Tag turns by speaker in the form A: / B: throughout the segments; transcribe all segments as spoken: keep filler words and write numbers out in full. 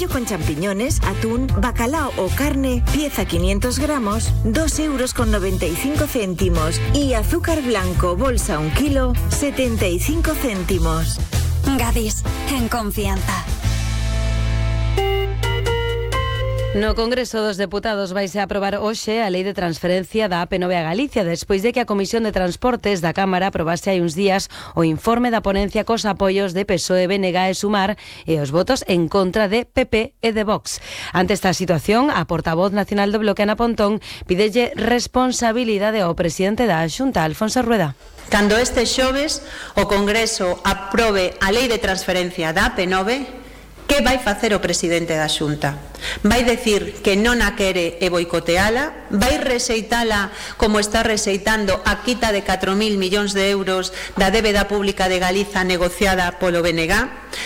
A: con champiñones, atún, bacalao o carne, pieza quinientos gramos, dos euros con noventa y cinco céntimos. Y azúcar blanco, bolsa un kilo, setenta y cinco céntimos.
B: Gadis, en confianza.
C: No Congreso dos Deputados vaise a aprobar hoxe a Lei de Transferencia da A P nove a Galicia, despois de que a Comisión de Transportes da Cámara aprobase hai uns días o informe da ponencia cos apoios de P S O E, B N G e Sumar e os votos en contra de P P e de Vox. Ante esta situación, a portavoz nacional do Bloque, Ana Pontón, pidelle responsabilidade ao presidente da Xunta, Alfonso Rueda.
D: Cando este xoves o Congreso aprobe a Lei de Transferencia da A P nove, que vai facer o presidente da Xunta? Vai decir que non a quere e boicoteala? Vai rexeitala como está rexeitando a quita de catro mil millóns de euros da débeda pública de Galiza negociada polo B N G?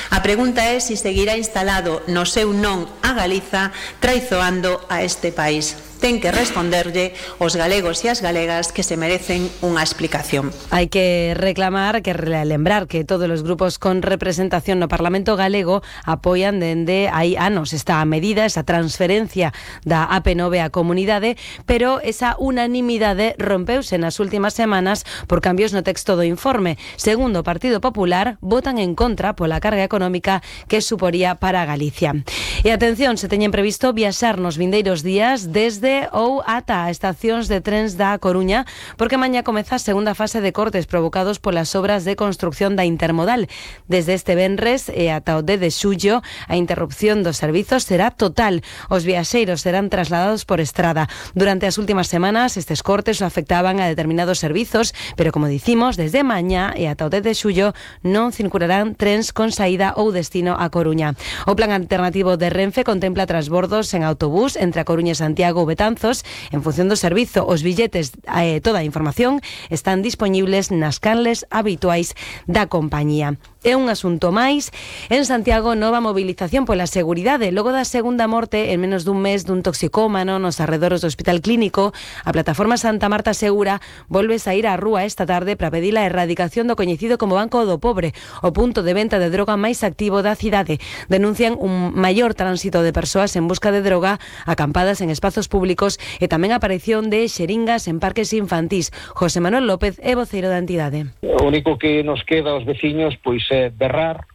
D: A pregunta é se seguirá instalado no seu non a Galiza, traizoando a este país. Ten que responderlle os galegos e as galegas que se merecen unha explicación.
C: Hai que reclamar, que lembrar que todos os grupos con representación no Parlamento galego apoian dende hai anos esta medida, esa transferencia da A P nove á comunidade, pero esa unanimidade rompeuse nas últimas semanas por cambios no texto do informe. Segundo o Partido Popular, votan en contra pola carga económica que suporía para Galicia. E atención, se teñen previsto viaxar nos vindeiros días desde ou ata estacións de trens da Coruña, porque mañá comeza a segunda fase de cortes provocados polas obras de construcción da intermodal. Desde este venres e ata o dez de xullo, a interrupción dos servizos será total. Os viaxeiros serán trasladados por estrada. Durante as últimas semanas, estes cortes afectaban a determinados servizos, pero como dicimos, desde mañá e ata o dez de xullo non circularán trens con saída ou destino a Coruña. O plan alternativo de Renfe contempla transbordos en autobús entre a Coruña e Santiago ou Betanzos. En función do servizo, os billetes e eh, toda a información están dispoñibles nas canles habituais da compañía. É un asunto máis. En Santiago, nova movilización pola seguridade. Logo da segunda morte en menos dun mes dun toxicómano nos arredores do Hospital Clínico, a plataforma Santa Marta Segura volve saír á rúa esta tarde para pedir a erradicación do coñecido como Banco do Pobre, o punto de venta de droga máis activo da cidade. Denuncian un maior tránsito de persoas en busca de droga, acampadas en espazos públicos e tamén a aparición de xeringas en parques infantís. José Manuel López é voceiro da entidade.
E: O único que nos queda aos veciños pois é berrar,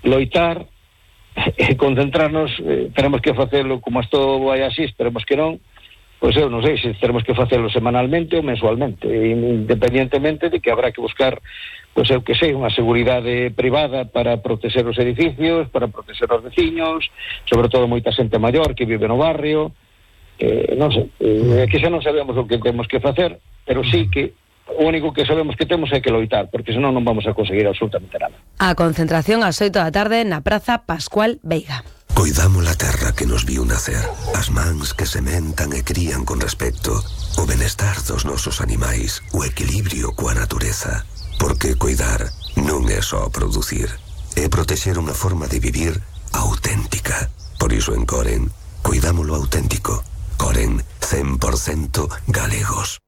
E: loitar e concentrarnos. eh, teremos que facelo como isto vai así, esperemos que non, pois eu non sei se teremos que facelo semanalmente ou mensualmente, independientemente de que habrá que buscar, pois eu que sei, unha seguridade privada para proteger os edificios, para proteger os veciños, sobre todo moita xente maior que vive no barrio. Eh, non sei, eh, que xa non sabemos o que temos que facer, pero sí que o único que sabemos que temos é que loitar, porque senón non vamos a conseguir absolutamente nada.
C: A concentración ás oito da tarde na Praza Pascual Veiga.
F: Coidamos a terra que nos viu nacer, as mans que sementan e crían con respecto, o benestar dos nosos animais, o equilibrio coa natureza. Porque coidar non é só producir, é protexer unha forma de vivir auténtica. Por iso en Coren, coidámolo auténtico. Coren, cen por cento galegos.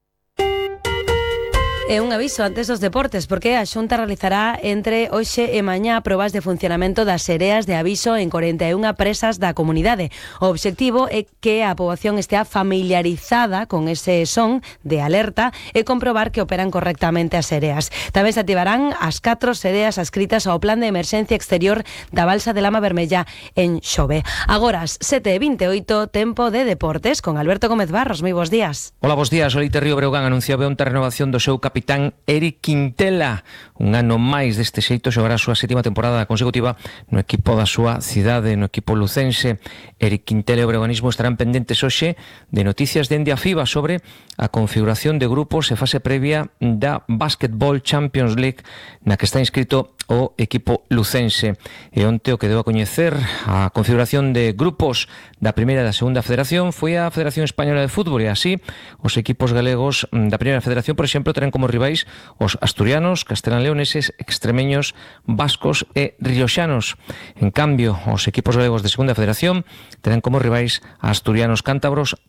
C: E un aviso antes dos deportes, porque a Xunta realizará entre hoxe e mañá probas de funcionamento das sereas de aviso en corenta e unha presas da comunidade. O obxectivo é que a poboación estea familiarizada con ese son de alerta e comprobar que operan correctamente as sereas. Tamén se activarán as catro sereas adscritas ao plan de emerxencia exterior da balsa de Lama Vermella en Xove. Agora, as sete e vinte e oito, tempo de deportes con Alberto Gómez Barros. Moi bons días.
G: Hola, bons días. O Leite Río Breogán anunciaba onte a renovación do seu capitán Eric Quintela. Un ano máis deste xeito xogará a súa sétima temporada consecutiva no equipo da súa cidade, no equipo lucense. Eric Quintela e o breoganismo estarán pendentes hoxe de noticias dende a FIBA sobre a configuración de grupos e fase previa da Basketball Champions League na que está inscrito o equipo lucense. E onte o que debo a coñecer a configuración de grupos da primeira e da segunda federación foi a Federación Española de Fútbol, e así os equipos galegos da primeira federación, por exemplo, terán como rivais os asturianos, castelán-leoneses, extremeños, vascos e rioxanos. En cambio, os equipos galegos de segunda federación terán como rivais asturianos, cántabros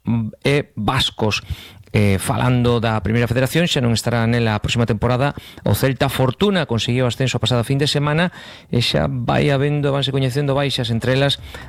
G: e vascos. Eh, falando da primeira federación, xa non estará nela a próxima temporada o Celta Fortuna, conseguiu ascenso a pasada fin de semana e xa vai habendo, vanse coñecendo baixas, entre elas